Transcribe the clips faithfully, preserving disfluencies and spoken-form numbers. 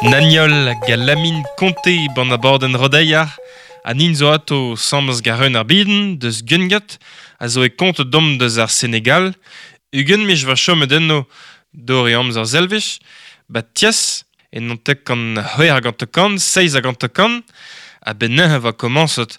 Naniol galamin Conte ban aborden rodeiar, a nin zo ato samz gareun ar biden, deus Gungat, a zo e kont dom deus ar Senegal, ugen mich va chomet enno dor e amzer zelvich, ba tias, en non tek an c'hwec'h hag hanter-kant, seizh hag hanter-kant, a ben neuze va komañset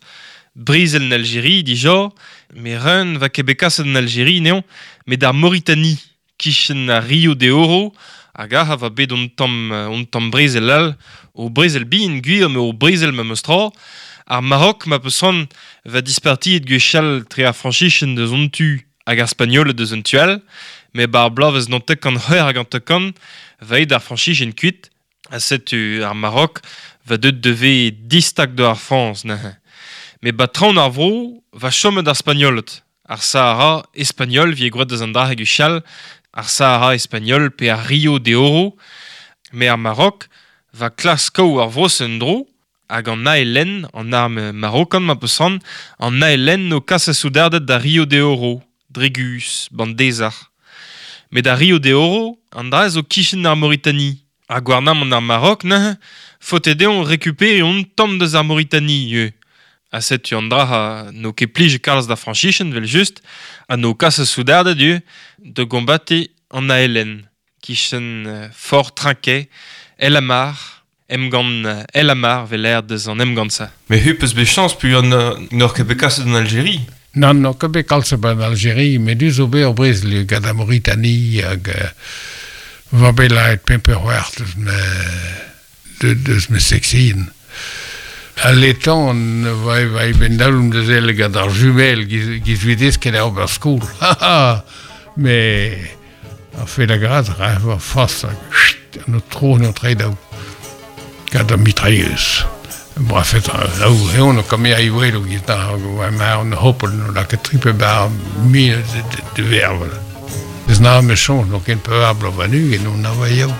brezel en Algérie dija, me reun va ket bet kaset en Algérie neon, met d'ar Mauritanie, kichen ar Rio de Oro, hag ac'h va bet on tamm, on tamm brezel all, o brezel bihan gwir, me o brezel ma meus tra, ar Maroc ma peus c'hoant va dispartiet gwechall tre ar Frañsizien deus on tu hag ar Spagnoled deus un tu all, me bar bloavezh naontek kant c'hwec'h hag hanter-kant va eo d'ar Frañsizien kuit, ha setu ar Maroc va deut devez distag de ar Frañs neuze. Me ba traoñ ar vro va chomet ar Spagnoled, ar Sahara espagnol vi e gwraet deus an dra gwechall, ar Sahara espagnol pe ar Rio de Oro, me ar Maroc va klask kaout ar vro en dro, hag an A L N, an arme marokan ma peus c'hoant, an A L N o kas a soudarded da Rio de Oro, dre guzh, ban dezar. Met da Rio de Oro, an dra zo kichen ar Mauritanie. Ar gouarnamant ar Maroc, neuze, faote dezhañ récupérer un tamm deus ar Mauritanie, eo. Ha setu an dra ha n'o ket plij kalz da Frañsizien, vel just, ha n'o kas a soudarded eo da gombate an A L N, kichen euh, Fort Trinquet, El Amar, emgann euh, El Amar vel aer deus an emgann sa. Mais hu peus bet chañs pu an n'oc'h ket bet kaset en Algérie. Nann, n'oc'h ket bet kalz en Algérie, met du zo bet ur brezel gant ar Mauritanie hag euh, va bet laet pemp ur c'hwec'h deus me, de, deus me seksion. A letan va va ben dalum deus el gant ar jumel giz, giz videz ket ar ober skol. Ha ha! Me a fait la grâce, ra va fas hag chut, an o tro an o tredaou. Gant ar mitrailleuse. Brafet, laou, eon o kamera i welo giz da, hag oa ma an hopel no lakaet tripe bar mine de, de, de vervel. Deus na me chons, no ken pevar bloaz warn-ugent, on a va yaou.